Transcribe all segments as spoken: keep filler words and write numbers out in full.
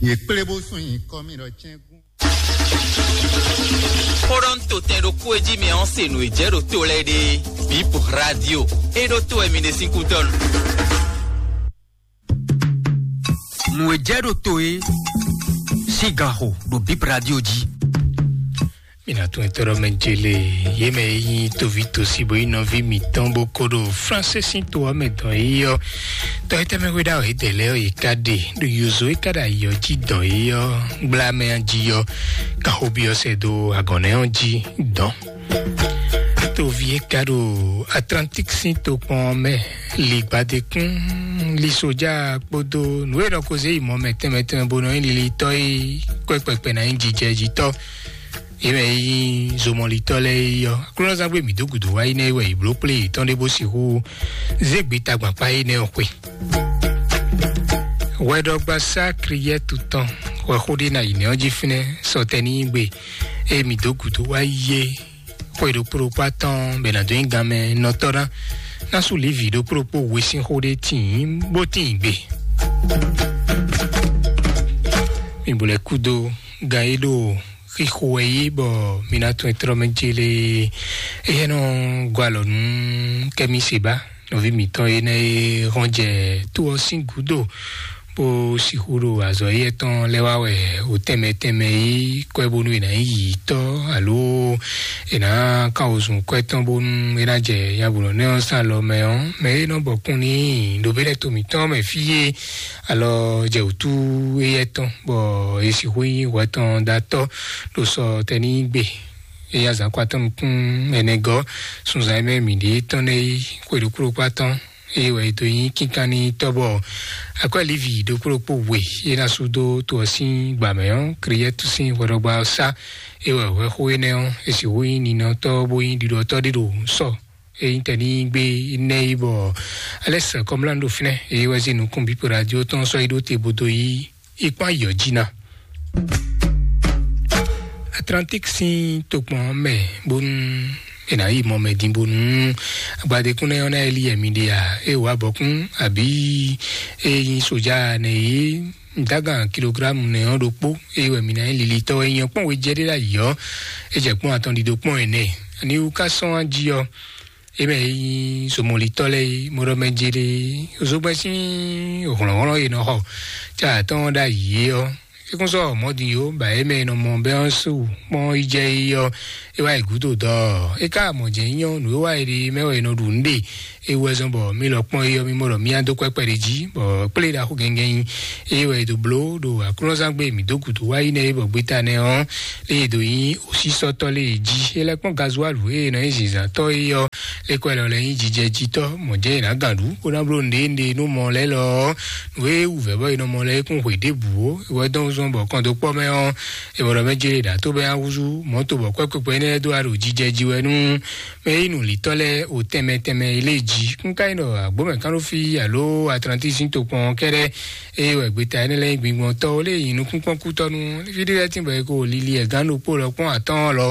Yě kplé bó sún nyi kɔ mì ɖɔ cɛ́ngún. Xó ɖɔ un to tɛn ɖokpó e jí mi ɔ́ se nǔ e jɛ ɖo to lɛ́ɛ ɖe. Bip Radio. E ɖo to wɛ mi ɖe sín kútɔ́nu. Nǔ e jɛ ɖo to e sín ganxo ɖo Bip Radio jí. Mi ná tún etɔ́ ɖɔ mɛ jele yě mɛ e nyí toví tosi bó nyí nɔví mǐtɔn bó ko ɖo Fransé sín to ɔ́ mɛ dɔn yí ɔ́. Tɔ e tɛmɛ hwe ɖa ɔ́, yědɛɛ lɛ́ɛ ɔ́, yě ká ɖe ɖo yozo e ká ɖo ayɔ jí dɔn yí ɔ́, gbla mɛ jí ɔ́, kan xó byɔ́ sɛ dó agɔ̌nɛ ɔ́ jí dɔn. Toví e ka ɖo Atlantique sín tokpɔn ɔ́ mɛ, li gbadekún, li soja kpódó nǔ e nɔ ko zé yi mɔ mɛ tɛnmɛ tɛnmɛ bó nɔ nyí lilitɔ́ e kwɛ́ kpɛkpɛ ná nyí jijɛjitɔ́. Yě mɛ e nyí zomɔlitɔ́ lɛ́ɛ é ɔ́, Aklúnɔzán gbé mǐ dó gǔdo wá yi nɛ́ é wɛ yě bló kplé yětɔn ɖé bó sixú zé gbeta gbakpá énɛ́ ɔ́ xwe. Hwɛɖɔgbasá Kriyɛ́tu tɔn hwɛ xó ɖé ná yi nɛ̌ ɔ́ jí fínɛ́ sɔtɛnígbe e mǐ dó gǔdo wá yi é. Xwe ɖokpó ɖokpó atɔn bɛ nǎ dó nyí ganmɛ nɔtɔ́ ná ná sú Livi ɖokpó ɖokpó we sín xó ɖé tíin bó tíin gbe. Mi bo lɛ́ kúdó gan e ɖo xixo wɛ yí bɔ mi ná tún ɛ tlɔ́ mɛ céle. Éyɛ́ nɔ gɔ́ alɔ nú Kɛ́mi Seba, nɔví mǐtɔn énɛ́ e hɔn jɛ tó ɔ́ sín gǔdo, bó sixú ɖo azɔ̌ éyɛ́ tɔn lɛ́ wá wɛ o tɛnmɛ tɛnmɛ yí kwɛ́ bónú è nǎ nyí yǐyítɔ́, alo è nǎ kan wozun kwɛ́ tɔn bónú é ná jɛ nyabolɔ́nɛ́ ɔ́ sín alɔ mɛ ɔ́, mɛ e nɔ bɔkun n'i ɖo bɛ́lɛ́ to mǐtɔn mɛ fí e alɔ jɛ wǔtu éyɛ́ tɔn, bɔ è sixú nyí hwɛ tɔn ɖo atɔ́ ɖo sɔ tɛnígbe e azǎn kɔ atɔ́ nukún ɛnɛ gɔ́ sunzan e mɛ mǐ ɖe tɔn nɛ́ yí xwe ɖokpó ɖokpó atɔ́. Eye wɛ è dó nyí kínkan n'i tɔ́ bɔ akwɛ́ Livi ɖokpó ɖokpó we e ná sú dó to ɔ́ sín gbǎmɛ ɔ́, Kriyɛ́tu sín hwɛɖɔgbá ɔ́ sá. E wɛ hwɛxó énɛ́ ɔ́, è sixú nyí ninɔtɔ́ bó nyí ɖiɖɔtɔ́ ɖé ɖo sɔ e nyí tɛnígbe nɛ́ yí bɔ Alɛ́si Kɔmlán ɖo fínɛ́. Eye wɛ zé nukún Bípo Radio tɔn sɔ́ yi ɖó te bó dó yí yi kpán yɔ jí ná. Atlantique sín tokpɔn ɔ́ mɛ bónú è nǎ yi mɔ mɛ din bónú agbadékúnlɛ ɔ́ ná yi lí ɛmí ɖe a? É wǎ bɔkún abǐ é nyí soja nɛ yě dágan kilogramu nɛ ɔ́ ɖokpó é wɛ mǐ ná nyí lilitɔ́ wɛ nyí ɔ́ kpɔ́n wejɛ ɖé ɖ'ayǐ ɔ́, é jɛ kpɔ́n atɔn ɖiɖo kpɔ́n ɛnɛ. Ani wú ká sɔ́n wá jí ɔ́, é mɛ e nyí zomɔlitɔ́ lɛ́ɛ é mɔ ɖɔ mɛ jé ɖé zogbɛ́n sín hlɔ̌nhlɔ́n e nɔ xɔ ca atɔ́ɔ́n ɖ'ayǐ é ɔ́, é kún sɔ́ mɔ̌ din ó, bɔ é mɛ e nɔ mɔ bɛ́ ɔ́ su kpɔ́n yi jɛ é ɔ́, é wá yi gǔdo dɔ é ká mɔ jɛ̌ nyí ɔ́, nǔ e wa è ɖe mɛ wɛ è nɔ ɖu nǔ ɖe. É wú wɛ zɔ́n bɔ mí lɔ kpɔ́n é ɔ́, mí mɔ ɖɔ mí ná dó kpɛ́kpɛ́ ɖé jí, bɔ kplé ɖaxó gɛngɛn nyi. É wɛ è dǒ bló ɖo aklúnɔzángbe mǐ dó gǔdo wá yi nɛ́ é bɔ gbeta nɛ́ ɔ́, lé e dǒ nyí òsísɔ́tɔ́ lé e jí. É lɛ́ kpɔ́n gazuálu e è nɔ nyí zǐnzǎntɔ́ é ɔ́, lé kɔ è lɔ lɛ́ nyí jijɛjitɔ́, mɔ̌ jɛ́n è nǎ gǎn ɖu, bó ná bló nǔɖé nǔɖé nú mɔ lɛ́ɛ lɔ ɔ́, nǔ e wǔvɛ́ bɔ è nɔ mɔ lɛ́ɛ é kún hwe ɖěbǔ ó. É wɛ dɔn zɔ́n bɔ kɔn dó kpɔ́ mɛ ɔ́, è bɔ ɖɔ mɛ jlé ɖǎ tó bɛ́ ná húzú mɔ̌to bɔ kwɛ́kwɛ́kwɛ́ énɛ́ lɛ́ɛ dó wá ɖo jijɛ jí wɛ nú mɛ e nyí nǔlítɔ́ lɛ́ɛ o tɛnmɛ tɛnmɛ e lé jí. Kún ka nyí ɖɔ agbǒmɛ kán ɖó fí alo Atlantisi tokpɔn kɛ́ɖɛ́, eye wɛ gbeta énɛ́ lɛ́ɛ nyí gbingbɔntɔ́ lé nyí nukúnkpɔ́n kútɔ́ nú fí ɖé lɛ́ɛ tín bɔ è ko lili ɛ gán ɖokpó lɔ kpɔ́n atɔ́ɔ́n lɔ.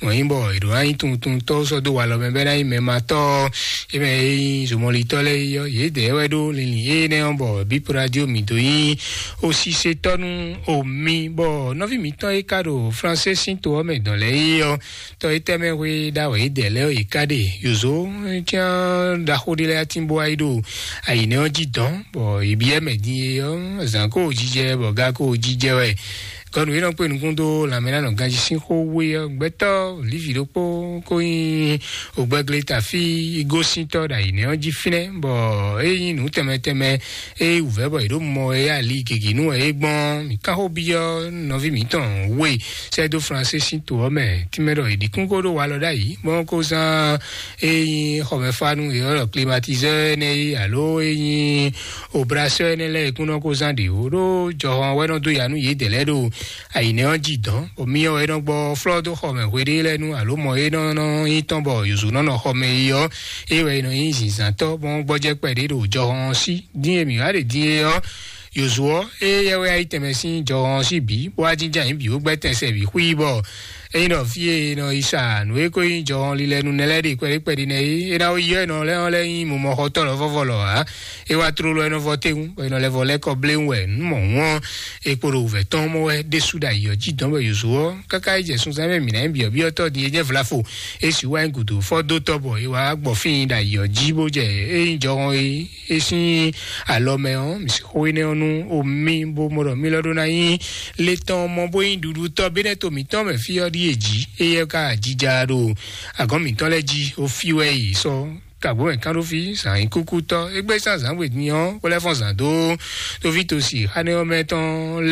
Mɔ̌ nyí bɔ è ɖǒ ná nyí tuntuntɔ́ sɔ́ dó walɔ mɛ bɛ́ ná nyí mɛ ma tɔ́. É mɛ e nyí zomɔlitɔ́ lɛ́ɛ é ɔ́, yědɛɛ wɛ ɖó linlin énɛ́ ɔ́ bɔ Bípo Radio mǐ dó nyí osisetɔ́ nú omi, bɔ nɔví mǐtɔn e ka ɖo Fransé sín to ɔ́ mɛ dɔn lɛ́ɛ é ɔ́, tɔ e tɛmɛ hwe ɖa wɛ yědɛɛ lɛ́ɛ ɔ́, yě ká ɖe yǒzo cyán ɖaxó ɖé lɛ́ɛ atín bó wá yi ɖo ayǐnɛ́ ɔ́ jí dɔn, bɔ yě byɔ́ mɛ din é ɔ́, zǎn ko jijɛ bɔ ga ko jijɛ wɛ. Gɔnu e nɔ kpé nukún dó lanmɛnánɔ ganjí sín xó wé ɔ́, gbɛtɔ́ lívi ɖokpó ko nyí ògbɛgle tafí gosíntɔ́ ɖo ayǐnɛ́ ɔ́ jí fínɛ́, bɔ é nyí nǔ tɛnmɛ tɛnmɛ e wǔvɛ́ bɔ è ɖǒ mɔ wɛ é ali gěgé nú wɛ é gbɔn. Mǐ kán xó byɔ́ nɔví mǐtɔn we sɛ́ dó Fransé sín to ɔ́ mɛ, tínmɛ ɖɔ è ɖi kún kó ɖó walɔ ɖ'ayǐ, bɔ kó zán e nyí xɔmɛfánu e ɔ́ ɖɔ klimatizɛ́ énɛ́ é, alo e nyí obrasɛ́ énɛ́ lɛ́ɛ e kún nɔ kó zán ɖě ó, ɖó jɔhɔn wɛ nɔ dó ya nú yědɛɛ lɛ́ɛ ɖo ayǐnɛ́ ɔ́ jí dɔn, bɔ myɔ wɛ nɔ gbɔ flɔ́ dó xɔmɛ hweɖé lɛ́ɛ nu, alo mɔ e nɔ nɔ nyí tɔn bɔ yǒzo nɔ nɔ xɔmɛ é ɔ́, é wɛ nɔ nyí zǐnzǎntɔ́, bɔ gbɔjɛ́ kpɛɖé ɖo jɔhɔn ɔ́ sí. Dín e mǐ wá ɖe dín é ɔ́, yǒzo ɔ́, éyɛ́ wɛ yí tɛnmɛ sín jɔhɔn ɔ́ sí bǐ, bó wá jínjɔ́n ayǐ bǐ bó gbɛ́ tɛn sɛ bǐ xwí bɔ Ényí ɖɔ fí e è nɔ yi sa nǔ e ko nyí jɔhɔn lilɛ nú nɛ lɛ́ɛ ɖe kpɛɖé kpɛɖé nɛ́ é, é ná yi ɔ́, è nɔ lɛ́ ɔ́ lɛ́ nyí mumɔxɔtɔ́ lɔ̌vɔ́vɔ lɔ ǎ. É wá tlóló ɛnɔ vɔ tewun, bɔ è nɔ lɛ́ vɔ lɛ́ kɔ bléwún wɛ nǔ mɔ̌hun ɔ́, è kpo ɖo wǔvɛ́ tɔn mɔ wɛ ɖésú ɖo ayǐ ɔ́ jí dɔn bɔ yǒzo ɔ́, káká é jɛ sunsɛn mɛ mǐ ná nyí byɔ̌byɔ́tɔ́ din é jɛ́n vlafo. É sixú wá nyí gǔdo fɔ dó tɔ́ bɔ é wá gbɔ fí nyi ɖo ayǐ ɔ́ jí bó jɛ é nyí jɔhɔn é é sín alɔ mɛ ɔ́, mǐ sixú énɛ́ ɔ́ nú omi bó mɔ ɖɔ mí lɔ ɖó ná nyí le tɔn mɔ bó nyí ɖuɖutɔ́ bénɛ́ to mǐtɔn mɛ fí ɔ́ ɖíe jí. Éyɛ́ ka jija ɖo agɔ̌n mǐtɔn lɛ́ɛ jí, ó fí wɛ yi sɔ́ kàgbó mɛ kán ɖó fí zǎn nyí kúkútɔ́. Égbé sín azǎn gbedin ɔ́, kó lɛ́ fɔ́n zǎn dó tóví tosi xánɛ́ ɔ́ mɛ tɔn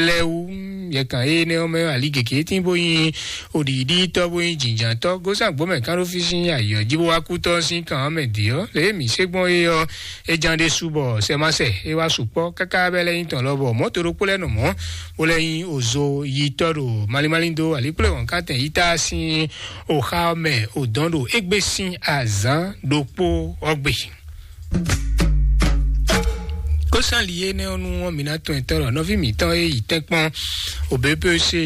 lɛ́ɛ wú. Yɛkan énɛ́ ɔ́ mɛ ali gěgé tín bó nyí oɖiɖítɔ́ bó nyí jǐnjǎntɔ́. Gósɛn agbǒ mɛ kán ɖó fí sín ayǐ ɔ́ jí bó wá kú tɔ́ sín kan ɔ́ mɛ dě ɔ́, lě e mǐ se gbɔn é ɔ́, é ján ɖésú bɔ sɛmáṣɛ é wá sukpɔ́ káká bɛ́ lɛ́ nyí tɔn lɔ bɔ mɔ̌ to ɖokpó lɛ́ɛ nɔ mɔ̌, bó lɛ́ nyí ozo yitɔ́ ɖo malímálí dó alíkplé wɔ̌nkantɛn yítá sín oxa ɔ́ mɛ odɔn ɖo égbé sín azǎn ɖokpó ɔ́ gbe. Kósan li énɛ́ ɔ́ nu ɔ́, mǐ ná tɔn etɔ́ ɖɔ nɔví mǐtɔn e yi tɛ́nkpɔ́n òbépése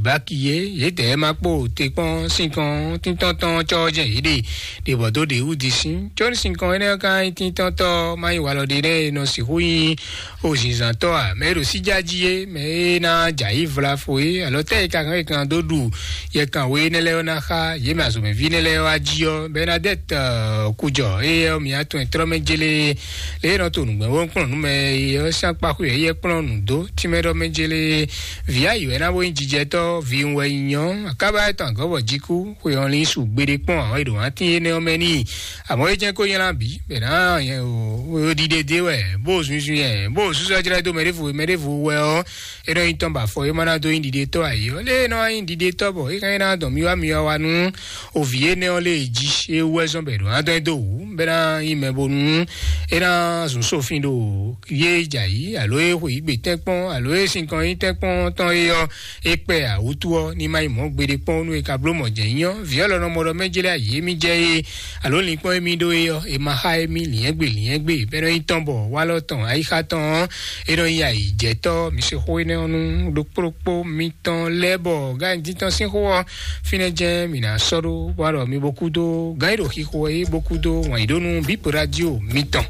báki é, yědɛɛ ma kpó te kpɔ́n sínkɔn tíntɔ́ntɔn cɔ́ jɛ yě ɖe ɖe bɔ dó ɖe wú di sín. Có ní sínkɔn énɛ́ ɔ́ ka nyí tíntɔ́ntɔ́ má nyí walɔ ɖé nɛ́ e nɔ sixú nyí o zinzǎntɔ́ a, mɛ e ɖo síjá jí é, mɛ e ná jɛ ayǐ vlafo é, alɔ tɛ́ e ka hɛn e kan dó ɖu yɛ kan we énɛ́ lɛ́ɛ ɔ́ ná xá yě mɛ azɔ̌mɛví énɛ́ lɛ́ɛ wá jí ɔ́, Bɛnadɛ́t kujɔ éyɛ́ ɔ́, mǐ atɔn e trɔ́ mɛ jélé lě e nɔ to nǔgbɛ́ wó kplɔ́n nú mɛ é ɔ́ sín akpaxwé ɔ́, éyɛ́ kplɔ́n nǔ dó tínmɛ ɖɔ mɛ jélé. Vǐ ayǐ wɛ ná bó nyí jijɛtɔ́, vǐ wɛ nyí nyɔ́, akába etɔn agɔ̌ bɔ jí kú, xwe ɔ́ lín su gbeɖé kpɔ́n àwọn e ɖo wǎntín énɛ́ ɔ́ mɛ n'i. Àmọ́ é jẹ́ kó nylá bǐ bɛ ná nyɛ o ɖiɖe dé wɛ, bó zunzun yɛ, bó súsɔ́ jlɛ́ dó mɛ ɖěvo mɛ ɖěvo wɛ ɔ́, é nɔ nyí tɔn bɔ afɔ é má ná dó nyí ɖiɖetɔ́ ayǐ ɔ́, lé é nɔ nyí ɖiɖetɔ́ bɔ é ka nyí ná dɔn mì wá mì wá wá nú òvǐ énɛ́ ɔ́ lé jí é wú wɛ zɔ́n bɔ è ɖǒ ná dɔn ɛ dó wǔ bɛ ná nyí mɛ bónú é ná zun sófin ɖo yé jɛ ayǐ alo é xwe yǐ gbe tɛ́nkpɔ́n alo é sinkɔn nyí tɛ́nkpɔ́n tɔn é ɔ́, é kpɛ awútu ɔ́ ní má nyí mɔ̌ gbeɖé kpɔ́n nú é ka bló mɔ̌ jɛ nyí ɔ́, vǐ ɔ́ lɔ nɔ mɔ ɖɔ mɛ jlɛ́ ayǐ émí jɛ é alo linkpɔ́n émí ɖó é ɔ́, è ma xá émí lǐnyɛ́gbe lǐnyɛ́gbe bɔ é nɔ nyí tɔn bɔ walɔ tɔn ayixa tɔn ɔ́, é nɔ nyí ayǐjɛtɔ́. Mi se xó énɛ́ ɔ́ nú ɖokpóɖokpó mitɔn lɛ́ɛ bɔ gǎn dín tɔn sín xó ɔ́, fínɛ́ jɛ́n mǐ ná sɔ́ ɖó bó wá ɖɔ mi bó kúdó gǎn e ɖo xixo é bó kúdó wǎn yí ɖó nú bǐ radio mitɔn.